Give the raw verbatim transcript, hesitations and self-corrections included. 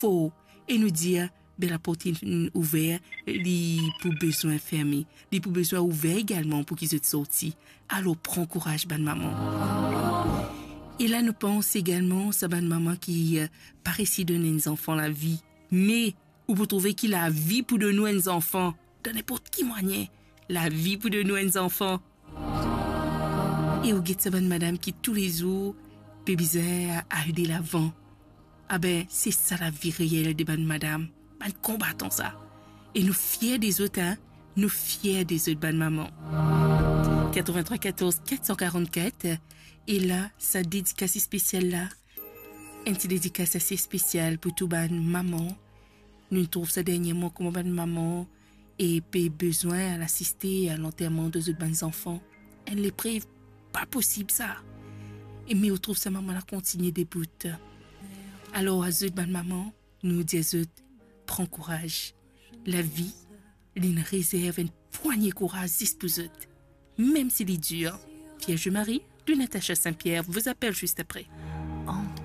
for e nou dir, be laport inn ouver, li pou bezwin ferme, li pou bezwin ouver egalman pou ki zot sorti. Alor, pran kouraz, bann mama. E la, nou pans egalman sa bann mama ki, eh, pa resi donn enn zanfan lavi. Me ou pou trouve ki lavi pou donn ou enn zanfan dan ninport ki mwayin. Lavi pou donn ou enn zanfan. E ou get sa bann madam ki toulezour pe bizin al de lavan. Abe, se sa lavi reel de bann madam, bann konbatan sa. E nou fier de zot, hein, nou fier de zot, bann mama. Quatre-vingt-trois quatorze quatre cent quarante-quatre, e la, sa dedikas spesial la, enn ti dedikas ase spesial pou tou bann mama. Nou trouv sa derniereman kouma bann mama e pe bizin al asiste a lanterman de zot bann zanfan. Enn leprev pa posib sa. E me ou trouv sa mama la kontigne debout. Alor, a zot bann mama, nou dir zot, pran kouraz. Lavi, li inn rezerv enn pwagne kouraz zis pou zot, mem si li dir. Vierge Marie, de Natacha Saint-Pierre, vous appelle juste après.